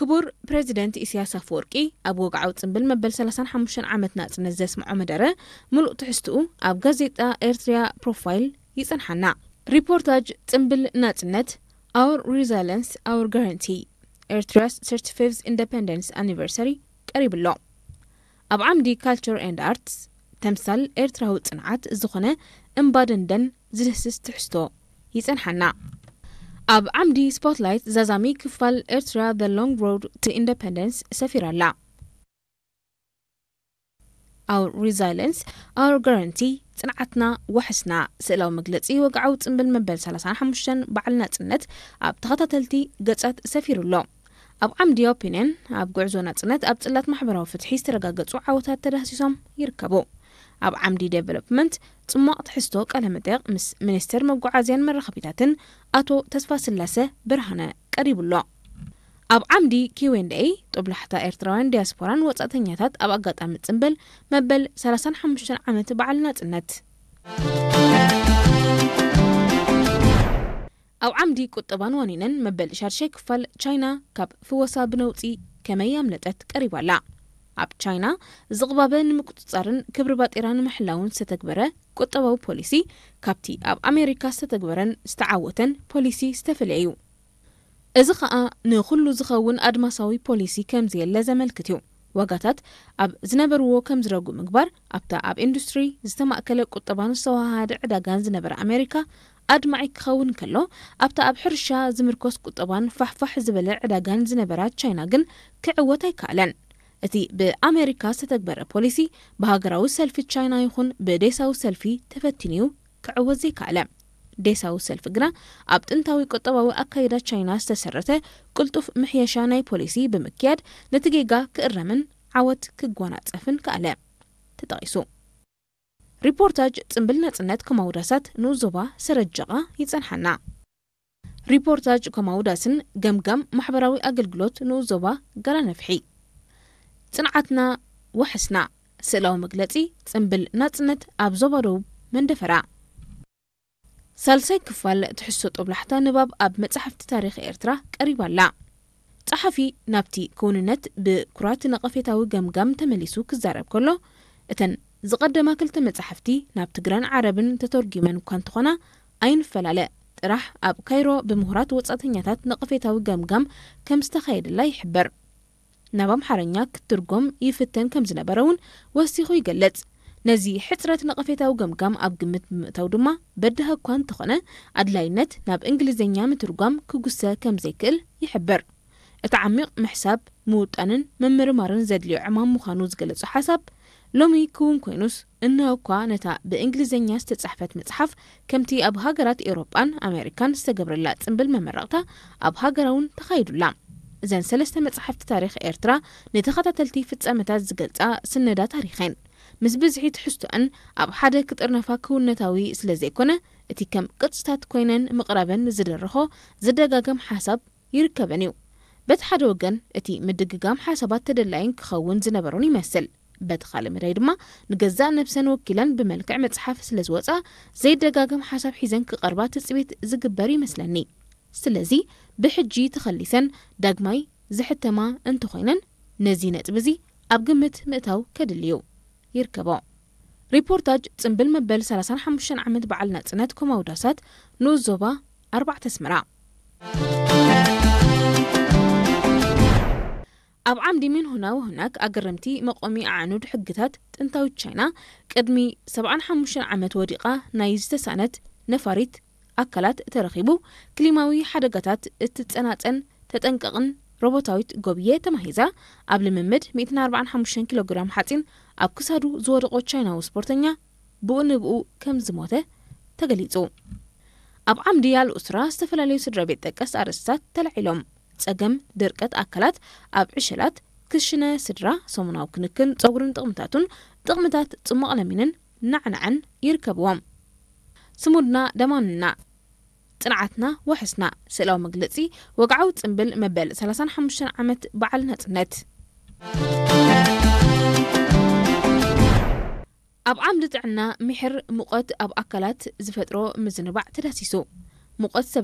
ክቡር ፕሬዚደንት ኢሳያስ ኣፈወርቂ ኣብ ወግዓዊ ጽምብል መበል ሰላሳን ሓሙሽተን ዓመት ናጽነት ዘስምዖ መደረ፣ ምሉእ ትሕዝትኡ ኣብ ጋዜጣ ኤርትሪያ ፕሮፋይል ይጸንሓና። ሪፖርታጅ ጽምብል ናጽነት፣ Our Resilience, Our Guarantee, Eritrea's thirty-fifth Independence Anniversary ቀሪቡ ኣሎ። ኣብ ዓምዲ Culture and Arts፣ ተምሳል ኤርትራዊ ጽንዓት ዝኾነ እምባ ደንደን ዝድህስስ ትሕዝቶ ይጸንሓና። ኣብ ዓምዲ ስፖትላይት፣ ዛዛሚ ክፋል ኤርትራ፣ The Long Road to Independence ሰፊራ ኣላ። Our Resilience, Our Guarantee፣ ጽንዓትና ዋሕስና፣ ስእላዊ መግለጺ ወግዓዊ ጽምብል መበል ሰላሳን ሓሙሽተን በዓል ናጽነት ኣብ ተኸታተልቲ ገጻት ሰፊሩ ኣሎ። ኣብ ዓምዲ ኦፒንየን፣ ኣብ ጉዕዞ ናጽነት ኣብ ጽላት ማሕበራዊ ፍትሒ ዝተረጋገጹ ዓወታት ተዳህሲሶም ይርከቡ። ኣብ ዓምዲ ዴቨሎፕመንት፣ ጽሟቕ ትሕዝቶ ቃለ መጠይቕ ምስ ሚኒስትር መጓዓዝያን መራኸቢታትን ኣቶ ተስፋስላሰ ብርሃነ ቀሪቡ ኣሎ። ኣብ ዓምዲ ኪው ኤንድ ኤይ፣ ጦብላሕታ ኤርትራውያን ዲያስፖራን ወጻእተኛታት ኣብ ኣጋጣሚ ጽምብል መበል ሰላሳን ሓሙሽተን ዓመት በዓል ናጽነት። ኣብ ዓምዲ ቁጠባን ዋኒንን፣ መበል ሻድሻይ ክፋል፣ ቻይና ካብ ፍወሳ ብነውጺ ከመይ ኣምለጠት ቀሪባ ኣላ። ኣብ ቻይና፣ ዝቕባበ ንምቁጽጻርን ክብሪ ባጤራ ንምሕላውን ዝተተግበረ ቁጠባዊ ፖሊሲ፣ ካብቲ ኣብ ኣሜሪካ ዝተተግበረን ዝተዓወተን ፖሊሲ ዝተፈለየ እዩ። እዚ ኸኣ ንኹሉ ዝኸውን ኣድማሳዊ ፖሊሲ ከም ዘየለ ዘመልክት እዩ። ዋጋታት ኣብ ዝነበርዎ ከም ዝረጉ ምግባር፣ ኣብታ ኣብ ኢንዱስትሪ ዝተማእከለ ቁጠባን ዝተወሃሃደ ዕዳጋን ዝነበረ ኣሜሪካ ኣድማዒ ክኸውን ከሎ፣ ኣብታ ኣብ ሕርሻ ዝምርኮስ ቁጠባን ፋሕፋሕ ዝበለ ዕዳጋን ዝነበራ ቻይና ግን ክዕወት ኣይከኣለን። እቲ ብኣሜሪካ ዝተተግበረ ፖሊሲ ብሃገራዊ ሰልፊ ቻይና ይኹን ብዴሳዊ ሰልፊ ተፈቲኑ እዩ ክዕወት ዘይከኣለ። ዴሳዊ ሰልፊ ግና ኣብ ጥንታዊ ቁጠባዊ ኣካይዳ ቻይና ዝተሰረተ ቅልጡፍ ምሕየሻ ናይ ፖሊሲ ብምክያድ ነቲ ጌጋ ክእረምን ዓወት ክጎናጸፍን ከኣለ። ተጠቒሱ። ሪፖርታጅ ጽምብል ናጽነት ከማውዳሳት ንኡስ ዞባ ሰረጀቓ ይጸንሓና። ሪፖርታጅ ከማውዳስን ገምጋም ማሕበራዊ ኣገልግሎት ንኡስ ዞባ ጋራ ነፍሒ። ጽንዓትና ዋሕስና፣ ስእላዊ መግለጺ ጽምብል ናጽነት ኣብ ዞባ ደቡብ መንደፈራ። ሳልሳይ ክፋል ትሕዝቶ ጦብላሕታ ንባብ ኣብ መጻሕፍቲ ታሪኽ ኤርትራ ቀሪባ ኣላ። ጸሓፊ ናብቲ ክውንነት ብኩራት ነቐፌታዊ ገምጋም ተመሊሱ ክዛረብ ከሎ፣ እተን ዝቐደማ ክልተ መጻሕፍቲ ናብ ትግረን ዓረብን ተተርጒመን እኳ እንተኾና፣ ኣይንፈላለ ጥራሕ ኣብ ካይሮ ብምሁራት ወጻእተኛታት ነቐፌታዊ ገምጋም ከም ዝተኻየደላ ይሕበር። ናብ ኣምሓርኛ ክትትርጎም ይፍተን ከም ዝነበረ እውን ወሲኹ ይገልጽ። ነዚ ሕጽረት ነቐፌታዊ ገምጋም ኣብ ግምት ብምእታው ድማ፣ በዳሂ እኳ እንተኾነ፣ ኣድላይነት ናብ እንግሊዝኛ ምትርጓም ክጉሰ ከም ዘይክእል ይሕብር። እቲ ዓሚቕ ምሕሳብ፣ ምውጣንን ምምርማርን ዘድልዮ ዕማም ምዃኑ ዝገለጾ ሓሳብ፣ ሎሚ ክውን ኮይኑስ፣ እንሆ እኳ ነታ ብእንግሊዝኛ ዝተጻሕፈት መጽሓፍ፣ ከምቲ ኣብ ሃገራት ኤውሮጳን ኣሜሪካን ዝተገብረላ ጽምብል መመረቕታ ኣብ ሃገራ እውን ተኻይዱላ። እዘን ሰለስተ መጻሕፍቲ ታሪኽ ኤርትራ ንተኸታተልቲ ፍጻመታት ዝገልጻ ስነዳ ታሪኽ እየን። ምስ ብዝሒ ትሕዝቶአን ኣብ ሓደ ክጥርነፋ ክውንነታዊ ስለ ዘይኮነ፣ እቲ ከም ቅርጽታት ኮይነን ምቕራበን ዝደረኾ ዝደጋገም ሓሳብ ይርከበን እዩ። በቲ ሓደ ወገን፣ እቲ ምድግጋም ሓሳባት ተደላይን ክኸውን ዝነበሮን ይመስል። በቲ ካልእ መዳይ ድማ፣ ንገዛእ ነብሰን ወኪለን ብመልክዕ መጽሓፍ ስለ ዝወጻ፣ ዘይደጋገም ሓሳብ ሒዘን ክቐርባ ትጽቢት ዝግበር ይመስለኒ። ስለዚ፣ ብሕጂ ተኸሊሰን ዳግማይ ዝሕተማ እንተኾይነን፣ ነዚ ነጥቢ እዚ ኣብ ግምት ምእታው ከድሊ እዩ። ይርከቦ። ሪፖርታጅ ጽምብል መበል ሰላሳን ሓሙሽተን ዓመት በዓል ናጽነት ኮማውዳሳት ንኡስ ዞባ ኣርባዕተ ኣስመራ። ኣብ ዓምዲ ሚንሁና ወሁናክ ኣገረምቲ መቆሚ ኣዕኑድ ሕግታት ጥንታዊት ቻይና ቅድሚ ሰብዓን ሓሙሽተን ዓመት ወዲቓ ናይ ዝተሳእነት ነፋሪት ኣካላት ተረኺቡ፣ ክሊማዊ ሓደጋታት እትጸናጸን ተጠንቀቕን ሮቦታዊት ጎብየ ተማሂዛ፣ ኣብ ልምምድ ሚእትን ኣርባዓን ሓሙሽተን ኪሎ ግራም ሓጺን ኣብ ክሳዱ ዝወደቖ ቻይናዊ ስፖርተኛ ብኡ ንብኡ ከም ዝሞተ ተገሊጹ። ኣብ ዓምዲ ኣልኡስራ ዝተፈላለዩ ስድራ ቤት ጠቀስ ኣርእስታት ተላዒሎም። ጸገም ድርቀት ኣካላት ኣብ ዕሸላት፣ ክሽነ ስድራ፣ ሰሙናዊ ክንክን ጸጉርን ጥቕምታቱን፣ ጥቕምታት ጽሟቕ ለሚንን ናዕናዕን ይርከብዎም። ስሙድና ደማንና፣ ጽንዓትና ዋሕስና፣ ስእላዊ መግለጺ ወግዓዊ ጽምብል መበል ሰላሳን ሓሙሽተን ዓመት በዓል ናጽነት። ኣብ ዓምዲ ጥዕና፣ ምሕር ሙቐት ኣብ ኣካላት ዝፈጥሮ ምዝንባዕ ተዳሲሱ። ሙቐት ሰብ